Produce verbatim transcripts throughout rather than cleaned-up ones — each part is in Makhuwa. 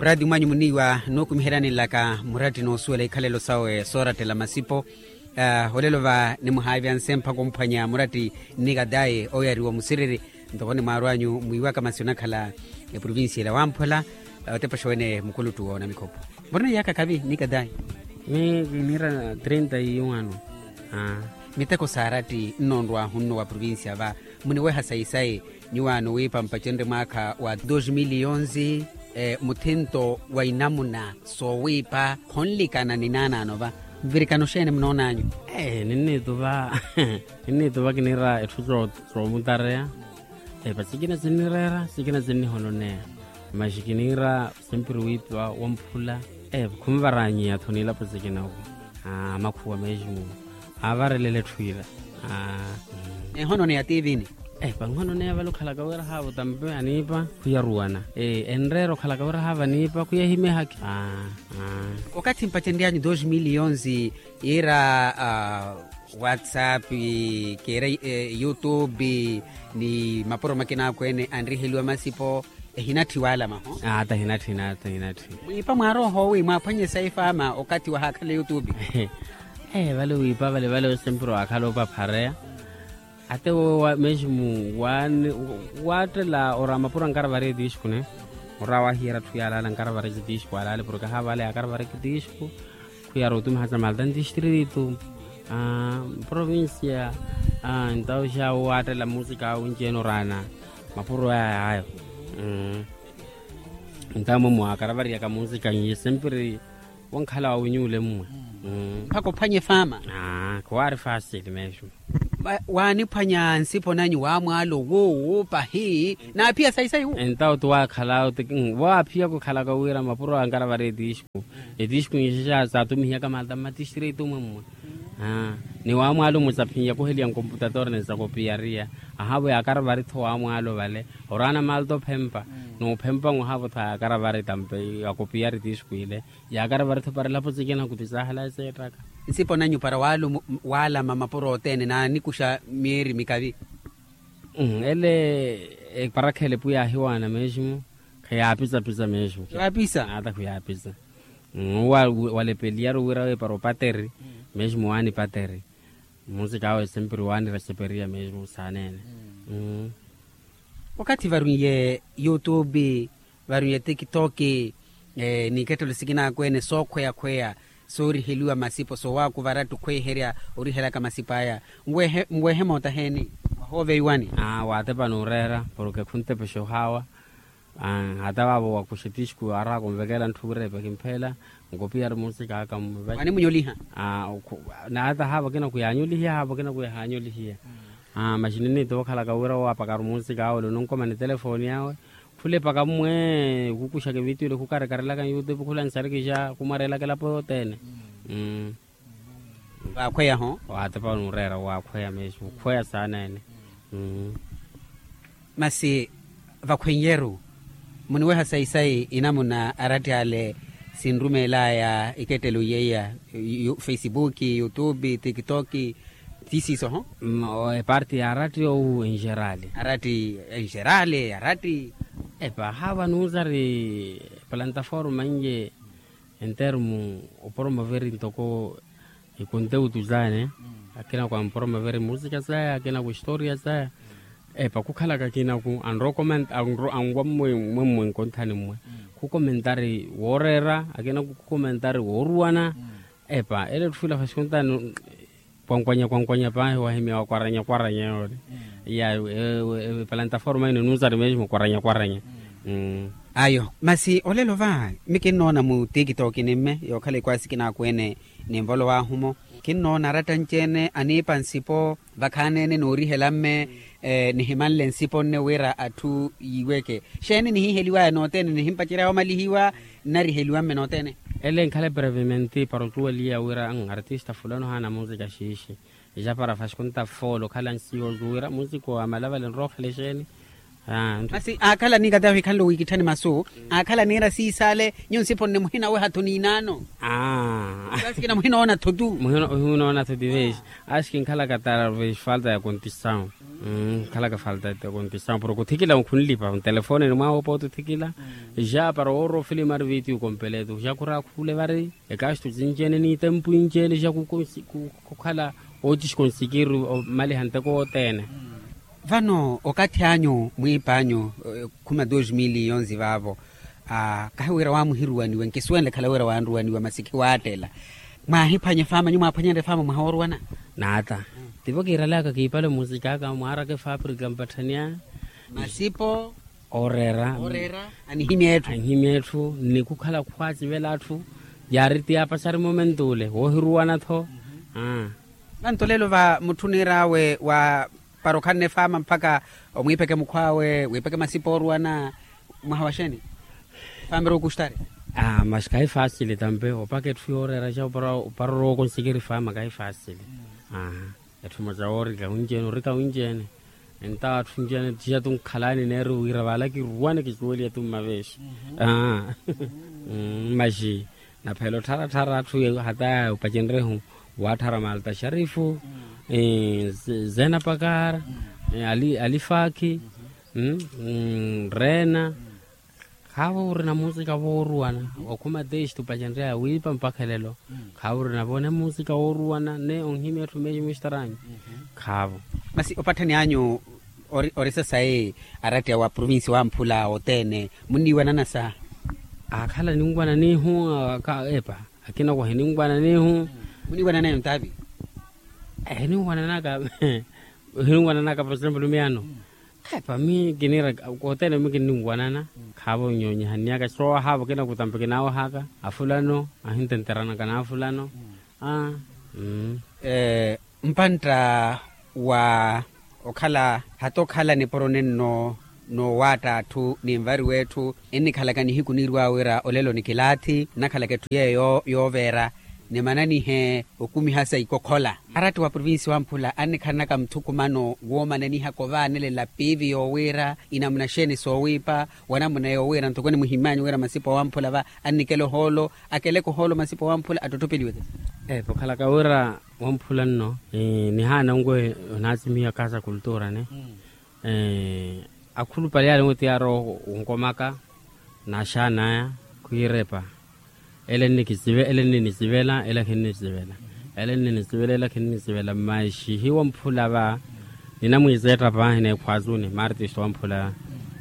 Muraati mwanyu muniiwa nuukumiheryani nlaka muratti noosuwela ikhalelo sawe soorattela masipo. Olelo va nimuhaavyanse mpakha omphwanya muratti nnikatayi oyariwa omusiriri. Ntoko nimwaarwanyu mwiiwaka masi onakhala eprovincia ila wamphwela. Otepexa wene mukuluttu woona mikhopho. Murina iyaka kavi nnikatayi? Mi kiniira trinta iwano. Miteko saaratti nnoonrwahu nno wa provincia va muniweha sayi-sayi. Nyuwaano wiipa mpacenrye mwaakha wa dos mil e onzi. Muthinto wa inamuna soowiipa khonlikana ni naanaano va nvirikano xeeni munoonanyu? Ninniituva ninniituva kiniira etthu soomutareya. Epa sikina sinnireera sikina sinnihononeya. Masi kiniira sempiri wiipa wamphula. Epa khunvaranyiya-tho niilapo sikina-vo. Amakhuwa mesmo aavarelele etthu ila. Ehononeya tiivini? Epa nhononeya vale okhalaka wira haava otampe aniipa khuyaruwana. Enreera okhalaka wira haava aniipa khuyahimehakhi. Okathi mpacenryanyu dos mil e onzi yiira whatsapp, keera youtube ni mapuro makina akweene anriheliwa masipo. Ehinatthi waalama ho? Ata hinatthi hinatthi hinatthi. Mwiipa mwaarooho wi mwaaphwanye saifaama okathi wahaakhala youtube? Vale wiipa vale vale osempiro waakhala opaphareya. Ate wo mesmo waattela ora mapuro ankaravari etiixku ne. Ora wahiyeera atthu yaalaala ankaravari etiixku alaale porke ahaavale yaakaravari etiixku. Khuyara otumiha sa malta ntistritu provincia. Entawu xa wo waattela musika awe onci-ene oraana mapuro aya ayo. Entawu mwe mwakaravariyaka musika n'iye sempiri wankhala wa winyuule mmwe. Mpakha ophwanye faama. Khuwaari fasili mesmo. Waaniphwanya nsipo nanyu waamwaalo wuuwu pahi naaphiya sayi-sayi wu? Entawu ti waakhala ti waaphiya khukhalaka wira mapuro ankaravari etiixku. Etiixku nixexa saatumihiyaka malta mmatistritu mmwe mmwe. Ni waamwaalo mmwe saphinya khuheliya nkomputator ni sakopiyariya. Ahaavo yaakaravari-tho waamwaalo vale oraana malta ophempa. Noophempa-nwe ahaavo-tho yaakaravari tampe akopiyari etiixku ile. Yaakaravari-tho para elapo sikina khuti saahala eseettaka. Nsipo nanyu para waalama mapuro othene naanikuxa miiri mikavi? Ele eparakha ele pwiya ahiwaana mesmo. Khayaapisa-pisa mesmo. Ata khuyaapisa. Walepeliyaru wira we para opateri mesmo waanipateri. Musika awe sempiri waanireseperiya mesmo saaneene. Okathi varwiiye youtube, varwiiye tiktok, n'ikettelo sikina akweene sookhweya-khweya sooriheliwa masipo soowaakuvara atthu khweherya orihelaka masipo aya. Nwehe mootta heeni? Wahooveiwani. Waatepa n'ureera porke khuntepexa ohaawa. Hata vaavo wakuxa etiixku araaka onvekela ntthu wira epe kimpheela. Nkopiyari musika aka mmwe vale. Waanimunyoliha? Na hata haavo akina khuyaanyolihiya haavo akina khuyahaanyolihiya. Masi ninniitova okhalaka wira owaapakaru musika awe ole ononkomani telefooni awe. Khulepaka mmwe khukuxaka evitiyo ole khukarikarelaka nyoutube khulansarikisha khumwarelaka elapo yothene. Vaakhweya-ho? Waatepa n'ureera waakhweya mesmo okhweya saaneene. Masi vakhwenyeru muniweha sayi-sayi inamuna aratti ale sinrumeelaya ikettelo yeiya, facebook, youtube, tiktok, ti siiso-ho? Eparti ya aratti ou enxerali? Aratti enxerali aratti. Epa haava nuusari plantaforma nje entermu opromoveri ntoko ikonteutu zaya ne. Akina ku ampromoveri musika zaya akina ku historia zaya. Epa khukhalaka akina ku anrokomenta anwa mmwe mmwe nkonthani mmwe khukomentari wooreera akina ku khukomentari wooruwana. Epa ele etthu ila fasi khuntani. Kwankwanya kwankwanya paahi wahimya wakwaranya kwaranya yoole. Iya ewe ewe plantaforma ino enunsari mesmo kwaranya kwaranya. Ayo masi olelo va mi kinnoona mu tiktok nimme yookhala ikwaasi kinaakweene ninvolowahu-mo. Kinnoona aratta anci-ene aniipa nsipo vakhaani-ene noorihela mme. Nihimanle nsipo nne wira atthu yiiweke xeeni nihiheliwaya nothene nihimpacerya wamalihiwa nnariheliwa mme nothene. Ele nkhala eprevimenti para otuweliya wira artista fulano haana musika xiixi. Ixapara fasi khunta foolo okhala nsiyo ozuwira musika wa malavale nrowa okhale xeeni. Masi aakhala niikatahi ohikhanle wiikitthani masu, aakhala niira siisaale nyuwo nsiphonne muhina wehatho niinaano. Asikina muhina oona-tho tu. Muhina oona-tho ti veexi. Asikina nkhalaka tara veexi falta ya kontisawu. Nkhalaka falta ya kontisawu porke othikila khunlipa ntelefone ni mwaha opo othikila. Ja para woora ofilimu ari vitiyu kompeletu ja khuraakhule vari. Ekastu cinci-ene n'itempu inci-ene ja khukhala ootixi konsikiri omaliha nteko wothene. Vano okathi anyu mwiipa anyu khuma dos mil yonzi vaavo. Kahi wira waamuhiruwaniwe nkisuwenle khala wira waanruwaniwa masi khiwaattela. Mwaahiphwanya efaama nyuwo mwaaphwanyanre efaama mwaha wooruwana? Naata. Tivo kiiralaka kiipale musika aka mwaaraka efaaprika mpatthani aya. Masipo. Ooreera. Anihimya etthu. Anihimya etthu nnikukhala khwaacivela atthu. Yaari ti yaapaxari momentu ule woohiruwana-tho. Vanto lelo va mutthu oniir'awe wa para okhanne efaama mpakha omwiipeke mukhw'awe wiipeke masipa ooruwana. Mwaha wa xeeni? Faama eri okustari. Masi kahi faasili tampe opaka etthu yooreera ja opara oroowa okonsikiri faama kahi faasili. Etthu emosa woorika winci-ene orika winci-ene. Entawo atthu nci-ene tixa tunkhalani neeri wira vaala kiruwane kisuweliye tu mmaveexi. Masi naphela ottharatthar'atthu hata yaya opacenrehu waatthara malta xarifu, zena pakar, alifaakhi, reena. Khaavo orina musika wooruwana okhuma testi opacenreya wiipa mpakha elelo. Khaavo orina vone musika wooruwana ne onhimya etthu meexi mustaranyu. Khaavo. Masi opatthani anyu ori sasayi arattiya wa provincia wamphula othene munniiwanana sa? Aakhala ninwananihu epa. Akina owo hininwananihu. Muniwananaya ontaavi? Hininwananaka hininwananaka por exemplo miyaano. Epa mi kiniira kothene mi kinninwanana. Khaavo nnyonyihanniyaka soowahaavo kinakutampe kinaawahaka afulano ahintenteranaka n'afulano. Mpantta wa okhala hata okhala nipuro nenno noowaatta atthu ni nvari w'etthu ennikhalaka nihiku niirw'awe wira olelo ni kilaathi nnakhalaka etthu yeeyo yooveera. Nimananihe okumiha sa ikokhola aratti wa provincia wamphula annikhalanaka muthukumano woomananihaka ovaanelela piivi yoowiira inamuna xeeni soowiipa wanamuna yoowiira ntoko nimuhimm'anyu wira masipa wamphula va annikela ohoolo akeleke ohoolo masipa wamphula attotthopeliweke. Epo okhalaka wira wamphula nno nihaana onwe onaasimiha kaasa kultura ne akhulupale yaale onwe ti yaarowa onkomaka naaxaan'aya khwiira epa ele nninisivela ele khinnisivela ele khinnisivela masi hiwamphula va ninamwiiseetta paahi neekhwaazuni martist wamphula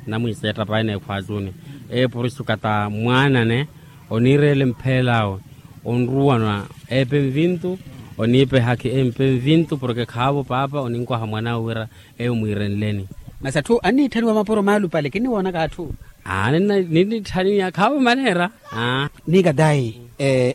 ninamwiiseetta paahi neekhwaazuni eepurisukata mwaanane oniireela empheel'awe onruwanwa eepe nvintu oniipa ehakhi eempe nvintu porke khaavo paapa oninkwaha mwan'awe wira eyo mwiirenleni. Masi atthu anniitthaniwa mapuro maalupale kinniwoonaka atthu. Ninniitthaniya khaavo maneera. Niikatayi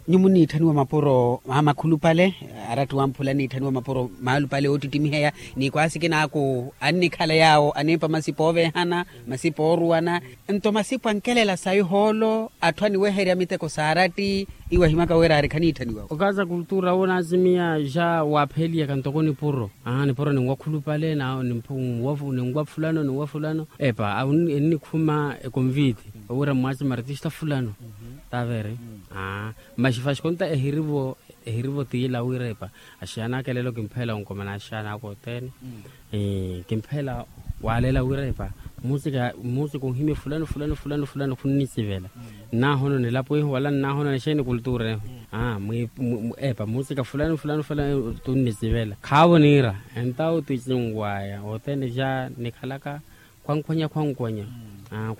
nyuwo munniitthaniwa mapuro makhulupale aratti wamphula anniitthaniwa mapuro maalupale oottittimiheya ni kwaasi kinaaku annikhala yaawo aniipa masipa ooveehana masipa ooruwana nto masipa ankelela sayi ohoolo atthu aniweherya miteko saaratti iwahimaka wira ari khaniitthaniwawe. Okaasa kultura woonaasimiya ja waapheeliyaka ntoko nipuro nipuro ninwa khulupale ninwa fulano ninwa fulano epa ennikhuma ekonviti owira mwaasi martista fulano taavere. Masi faxi konta ehirivo ehirivo tiila wira epa axiyana aka elelo kimpheela onkomana axiyana aka othene kimpheela waalela wira epa musika musika onhimye fulano fulano fulano fulano khunnisivela nnahono nilapo ihu wala nnahono nixeeni kultura ihu epa musika fulano fulano fulano tunnisivela khaavo niira entawo ticinwaya othene ja nikhalaka khwankhwenya khwankhwenya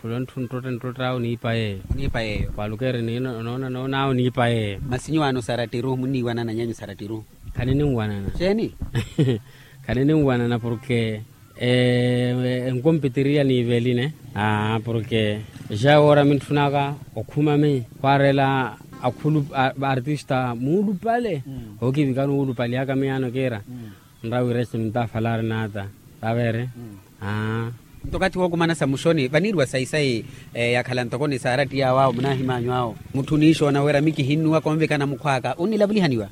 khula nthu nttotta nttotta awo niipa yeeyo. Khwaalukeeri ninoona noona awo niipa yeeyo. Masi nyuwaano sarattiru munniiwanana nyanyu sarattiru? Khanininwanana. Xeeni? Khanininwanana porke enkompitiriya niiveli ne porke ja woora mintthunaka okhuma mi khwaareela akhulu artista muulupale. Ookivikani wuulupalihaka miyaano kiira nrawiresi mintafalaari naata. Taveere. Nto okathi wookumana sa muxoni vaniiriwa sayi-sayi yakhala ntoko ni saarattiya awo awo munaahim'anyu awo mutthu oniixoona wira mi kihinnuwa konvikana mukhw'aka onnilavulihaniwa.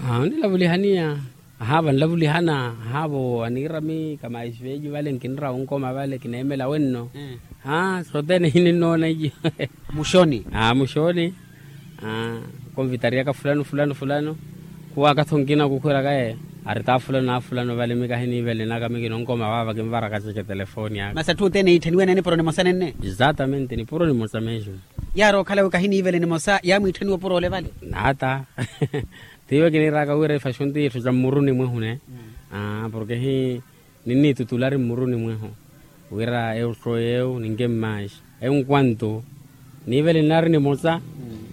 Onnilavulihaniya. Ahaavo anlavulihana. Ahaavo aniirami kamaixi venyu vale nkinrawa onkoma vale kineemela wenno. Aa sothene hininnoona iyo. Muxoni. Aa muxoni. Aa konvitariyaka fulano fulano fulano. Khuwaaka-tho nkina kukhwiraka e ari taa fulano aa fulano vale mi kahiniivelenaka mi kinonkoma vaava kinvaraka seke telefooni aka. Masi atthu othene yiitthaniwe nipuro nimosa nenne. Exatamente nipuro nimosa mesmo. Yaari okhala wi kahiniivele nimosa yaamwiitthaniwa opuro ole vale. Naata. Tiiwe kiniiraka wira ifaxu nti itthu ca mmuruni mwehu ne. Porke hi ninniitutulari mmuruni mwehu wira eyo sooyeyo ninke mmaxi. Enkwantu niivele ninaari nimosa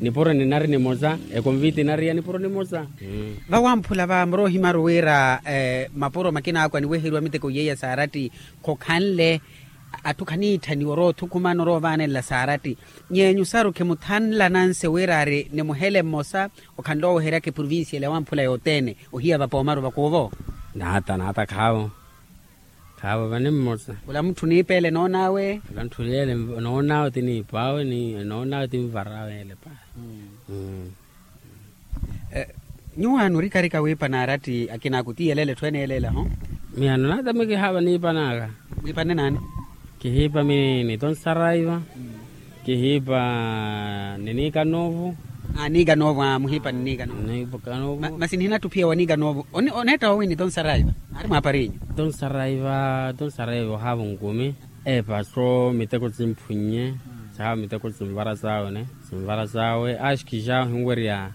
nipuro ninaari nimosa. Ekonviti inariya nipuro nimosa. Vawamphula va muroohimaru wira mapuro makinaakwa niweheriwa miteko yeiya saaratti khokhanle. Atthu khaniitthaniwa oroothukhumana oroovaanenla saaratti. Nyeenyu saru khimuthanla nanse wira ari nimuhele mmosa okhanle oweheryaka eprovincia ela wamphula yothene ohiya vapoomaru vakuuvo. Naata naata khaawo. Khaawo vani mmosa. Khula mutthu niipa ele noon'awe. Khula mutthu ele noon'awe ti niipa awe noon'awe ti nvara awe ele pahi. Nyuwaano orikarika wiipa naaratti akinaaku ti yelele etthu ene eleela ho. Miyaano naata mi kihaapa niipan'aka. Mwiipanne naani? Kihiipa mi ni tonsaraiva. Kihiipa ni niikanoovu. Aa niikanoovu aa muhiipa ni niikanoovu. Masi nihinatthi ophiya wa niikanoovu oneetta wawi ni tonsaraiva? Aari mwaapariinyu. Tonsaraiva tonsaraiva ohaavo nkumi. Epa so miteko simphunnye. Sahaavo miteko sinvara sawe ne. Sinvara sawe axki ja ohinwerya.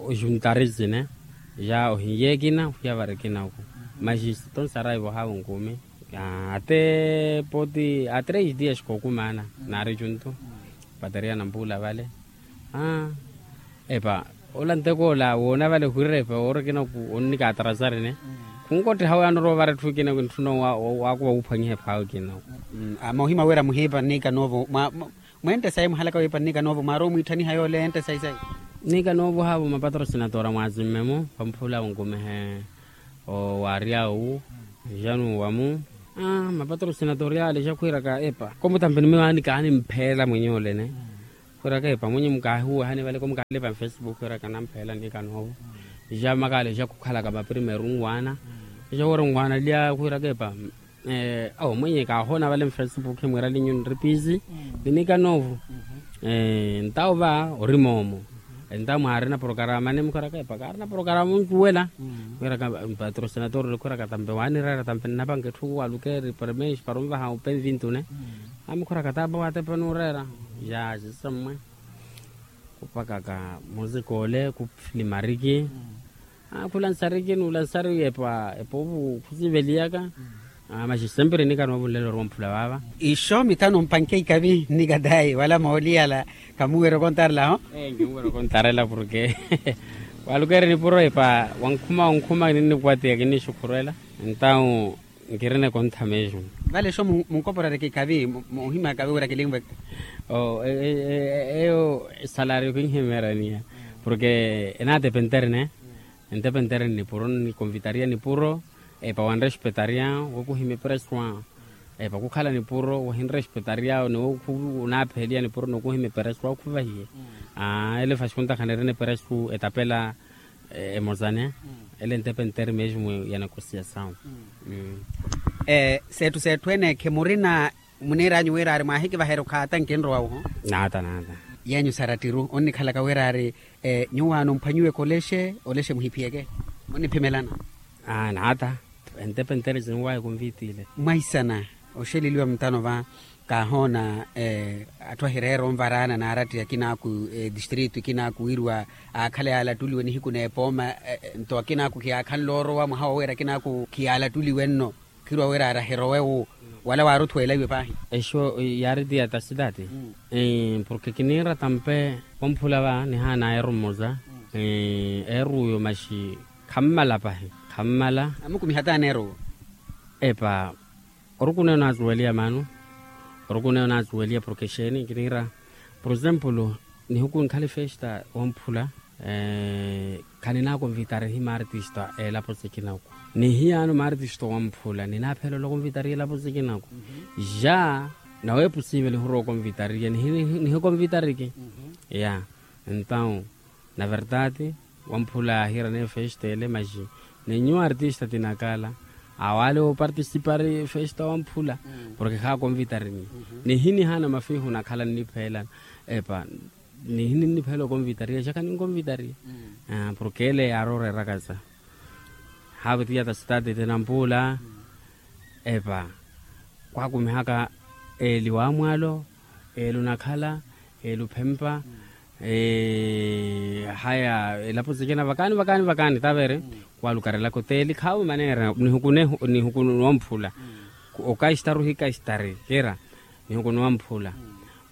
Ojuntari sine ja ohiye ekina ohiya vari ekinaku. Maxi tonsaraiva ohaavo nkumi. Ate poti a tres dias kookumaana naari juntu. Pateriya nampuula vale. Epa ola ntekoola woona vale ohirira epa woori ekinaku onnikaatarasari ne. Khunkotteha oyaano orowa vara etthu ekinaku entthuna waakuva wuuphwanyiha ephaawe ekinaku. Moohima wira muhiipa nniikanoovo. Mweente sayi muhalaka wiipa nniikanoovo mwaari omwiitthaniha yoole eente sayi sayi. Nniikanoovo haavo mapatrosinatoora mwaazimme-mo vamphula onkumihe. Owaarya owu. Januwa-mu. Mapatrosinatoora yaalexa khwiiraka epa komutampe ni miwaani kaanimpheela mwenye olene. Khwiiraka epa mwenye mukaahiwehani vale komukaalipa mfesipuku khwiiraka nampheela nniikanoovo. Jamakalexa khukhalaka maprimeru nwaana. Jawoora nwaana lya khwiiraka epa. Awo mwenye kaahoona vale mfesipuku khimwiira linyu nripisi. Ni niikanoovo. Ntawo va ori moomo. Entawo mwaarina porokaramani mukhwiiraka epa kaarina porokarama oncuwela. Khwiiraka patrosinatoori khwiiraka tampe waanireera tampe nnapanka etthu walukeeri premiex para onvaha openvintune. Amukhwiiraka taapa watepa nuureera. Ya sisammwe. Khupakaka muzikoole khufilimariki. Khula nsariki nuula nsari epa epa ovu khusiveliyaka. Maxi sempre nnikanoovo nlelo ori wamphula vaava. Ixo mitano mpanke ikavi nnikatayi wala mooliyala. Khamuwerya okontarela ho. Nkimuwerya okontarela porke walukeeri nipuro epa wankhuma wankhuma ninnikwatiya kinnixukhurwela. Entawo nkirina ekontha mesmo. Vale exo munkoporareke ikavi. Muhima ikavi wira kilinveke. Eyo esalario kinhimeeraniya porke enaatepenteri ne. Entepentere nnipuro nnikonvitariya nipuro. Epa wanrespetary'awe wokuhimya epereswa. Epa kukhala nipuro wahinrespetary'awe ni wokunaapheeliya nipuro nokuhimya epereswa okhuvahiye. Aa ele fasi khuntakhanirina epereswa etapela. Emozane ele entepentere mesmo ya negosiyasawu. Seetthu seetthu ene khimurina. Muniiranyu wira ari mwahikivaherya okhaata nkinrowa wuho. Naata naata. Yenyu sarattiru onnikhalaka wira ari nyuwaano mphwanyiwe kolexe olexe muhiphiyeke. Onniphimelana. Naata. Entepentere sinwaye konviti ile. Mwaisana oxeleliwa mutano va kaahoona atthu ahireera onvaraana naaratti akinaaku distritu akinaaku wiriwa aakhala yaalattuliwe nihiku n'epooma. Nto akinaaku khiyaakhanle orowa mwaha woweera akinaaku khiyaalattuliwe nno. Khirwa wira ari ahirowe wu wala waaruthweela iwe paahi. Exo yaari ti ya tasitati. Porke kiniira tampe wamphula va nihaana eeru mmosa eeru uyo maxi khammala pahi. Khammala. Amukumiha taani eeru uwo. Epa orukuneya onaazuweliya maano. Orukuneya onaazuweliya porke exeeni kiniira por exemplo nihiku nkhala efesta wamphula. Khaninaakonvitarihi maartisto a elapo sikinaku. Nihiyaano maartisto wamphula ninaaphelela okonvitariha elapo sikinaku. Ja naweepusiivela ehurwa okonvitariha nihikonvitariki. Ya entawo na verdade wamphula ahiira neyo festa ele maxi Ni nyuwo artista tinakala awale opartisipari festa wamphula. Porke khakonvitari ni nihinihaana mafihu nakhala nnipheela epa nihini nnipheela okonvitariya xaka ninkonvitariya. Porke ele yaari oreerakasa haavitiyata sitati tinampula epa khwakumihaka eli wamwalo, eli onakhala, eli ophempa. Haya elapo sikina vakani vakani vakani tavere khwalukarelaka oteli khawe maneera nihukunuwa mphula. Okastari ohikastari kira nihukunuwa mphula.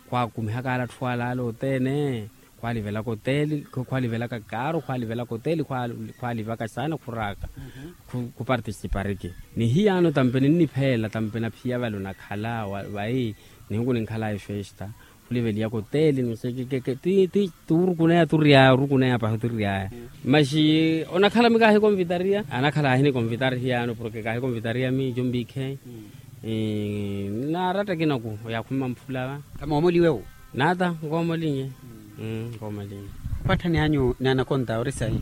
Khwakumihaka ala atthu ala ala othene khwalivelaka oteli, khwalivelaka kaaru khwalivelaka oteli khwalivaka saana khuraaka. Khupartisipariki ni hiyaano tampe ninnipheela tampe naphiya vale onakhala vayi nihuku ninkhalaya efesta. Khuliveliyaka oteli nusekekeke ti turukuneya turiyaya orukuneya pahi otiriyaya. Maxi onakhala mi kaahikonvitariya anakhala ahinikonvitari hiyaano porke kaahikonvitariya mi jombikhe. Naaratta kinaku yakhuma mphulava. Kamoomoliwe wu? Naata nkoomolinye. Nkoomolinye. Mpatthani anyu naanakonta ori sayi?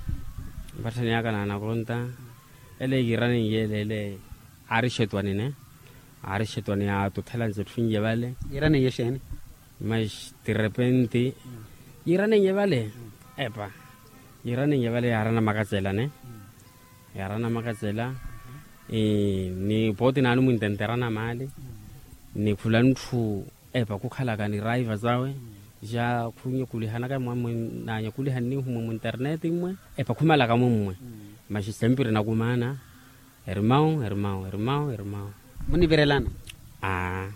Mpatthani aka naanakonta ele kiiraninye ele ele aari xetwani ne aari xetwani yaatuthela nse etthu inye vale. Yiiraninye exeeni? Mas ti repenti yiiraninye vale epa yiiraninye vale yaarana makacela ne yaarana makacela. Ni pooti naani mwintenterana maali ni khula ntthu epa khukhalaka ni raiva zawe ja khunyakulihanaka mwa mwe nanyakuliha nnihu mwe munterneti mmwe epa khumalaka mwe mmwe. Maxi sempiri nakumaana. Ermau ermau ermau ermau. Munivirelana? Aa.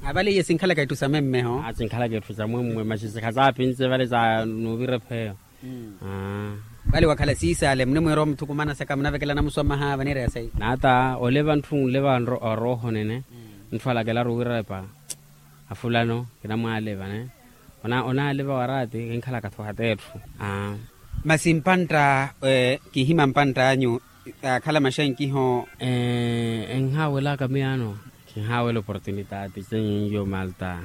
Avale iye sinkhalaka etthu sa memmeho. Sinkhalaka etthu sa mwemmwe maxi sikhazaapince vale sa nuuvira epheyo. Vale wakhala siisale munimwiira omuthukumana saka munavekelana musoma haava niireya sayi? Naata oleva ntthu nleva arooho nene ntthu alakelaru wira epa afulano kinamwaleva ne onaaleva waraati kinkhalaka tho hata etthu. Masi mpantta kihima mpantta anyu akhala maxankiho. Enhaawelaka miyaano kinhaawela oportunitaati senyu njo malta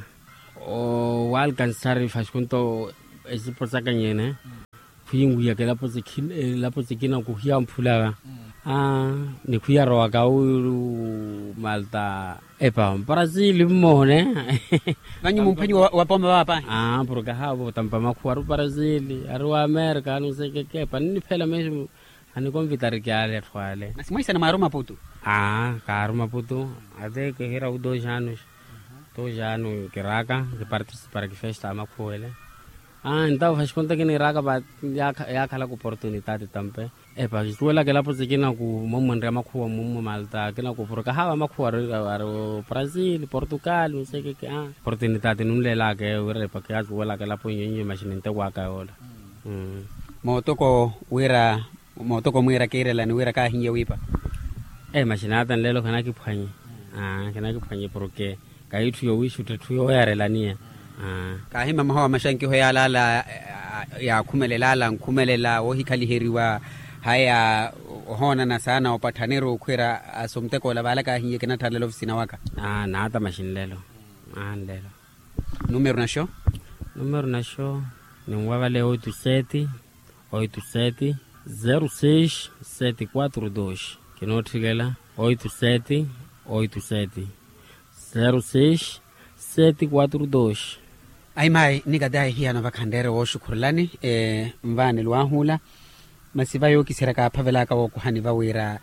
owalkansari fasikunto esipo saka nyene. Khuyinwiyaka elapo sikina kuhiyamphulaka ni khuyarowaka wiru malta epa mparasili mmoone. Vanyu mumphwenyi wa poma vapahi. Porke haavo tampa makhuwa ari oparasili ari wa amerika anusekeke epa ninniphela mesi. Anikonvitariki ale atthu ale. Masi mwaisana mwaaru maputu? Aa kaaru maputu. Ate kihira wu dos anos. Dos anos kiraaka kipartisiparaki festa amakhuwele. Aa ntawo fasikunto kiniiraaka va yaakhalaka oportunitati tampe epa kisuwelaka elapo sikina kumomwenrya makhuwa mmwe malta akina kupuruka haava makhuwa ari brazil portugal nsekeke. Oportunitati nunleelaka eyo wira epa kiyasuwelaka elapo nyonyo maxi nintekwaka yoola. Mootoko wira mootoko mwiira kiirelani wira kaahiye wiipa. Ee maxinaata nlelo khinakiphwanye. Khinakiphwanye porke kahitthu yowiixutta etthu yooyarelaniya. Kaahima mahowa maxankiho yaalaala yaakhumelela ala nkhumelela woohikhaliheriwa haya ohoonana saana opatthaneru okhwira asomtekoola vaala kaahiye kinatthalela ofisina waka. Naata maxinlelo. Nlelo. Numero naxo? Numero naxo ninwa vale oito sete oito sete zero seis sete quatro dos. Kinootthikela oito sete oito sete zero seis sete quatro dos. Ahimayi nikatayi hiyano vakhanreere wooxukhurelani. Nvaani lwaahuula masi vayookisera kaaphavelaka wookuhani vawiira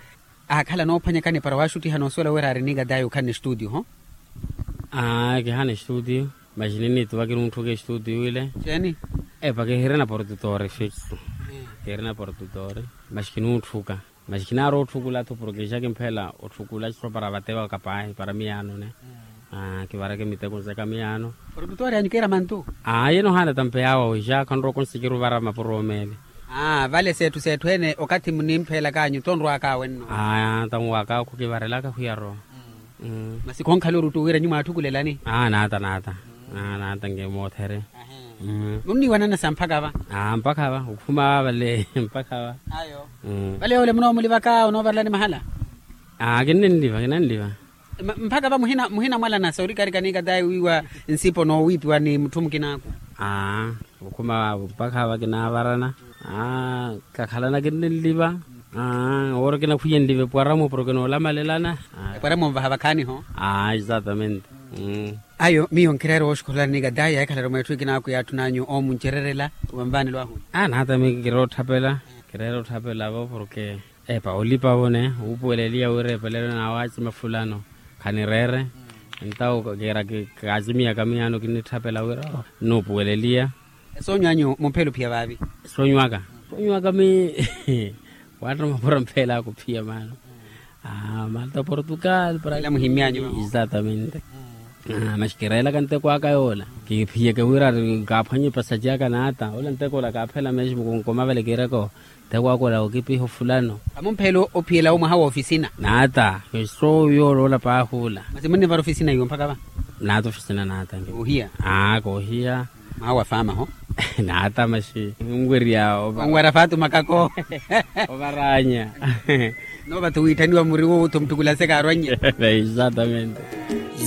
aakhala noophwanyakani para waaxuttiha noosuwela wira aari nikatayi okhanne estuutiyo ho. Aa kihana estuutiyo maxi ninniituva kinuutthuka estuutiyo ile. Xeeni? Epa kihirina portutori fixo. Kihirina portutori maxi kinuutthuka maxi kinaari ootthukula-tho porke xa kimphela otthukula sopara vatewa kapaahi para miyaanone. Kivareke miteko nzeka miyaano. Portutori anyu kiira mantu? Aa yenohaana tampe yaawa wixa khanrowa konsikiri ovara mapuro omeele. Vale seetthu seetthu ene okathi munimpheelaka anyu tonrwaaka awe nno. Aa tanwaaka khukivarelaka khwiyarowa. Masi khonkhala oruttu wira nyu mwaatthukulelani? Aa naata naata. Naata nge moothere. Nunniiwanana sa mpakha va? Mpakha va okhuma vale mpakha va. Vale yoole munoomulivaka onoovarelani mahala? Kinnenliva kinnenliva. Mpakha va muhinamwalana sa orikarika ni katayi wiiwa nsipo noowiipiwa ni mutthu mukinaaku. Aa okhuma vaavo mpakha va kinaavarana. Aa kakhalana kinnenliva. Aa owoora kinakhwiyenlive epwaramo porke noolamalelana. Epwaramo nvaha vakhaaniho. Aa exatamente. Ayo miyo nkireera wooxukhulani kadaya ekhalari mweetthu ekinaakuyaatthun'anyu oomuncererela. Wanvaanelo ahu. Aa naata mi kireera otthapela. Kireera otthapela vo porke epa olipavo ne wuupuweleliya wira epelelo nawaacima fulano. Khanireere. Entawo kiira kaacimiyaka miyaano kinnitthapela wira nuupuweleliya. Esoonyo anyu mumphela ophiya vaavi? Soonyo aka soonyo aka mi waatta mapura mphela aka ophiya maano. Malta portugal para muhimyanyu. Exatamente. Maxi kireelaka nteko aka yoola kiphiyeke wira kaaphwanye epasaci aka naata ola nteko ola kaaphela meximu kunkoma vale kiireko. Nteko aka ola okipiha ofulano. Amumphela ophiyela omwaha wa ofisina. Naata. Soyo oloola paahuula. Masi munnivara ofisina iwo mpakha va? Naata ofisina naata. Koohiya. Aa koohiya. Mwaha wa faama ho. Naata maxi nwerya. Onwara faatu makako. Ovaranya. Noova tho wiitthaniwa muri wowo tho mutthukula sekaarwannye. Exatamente.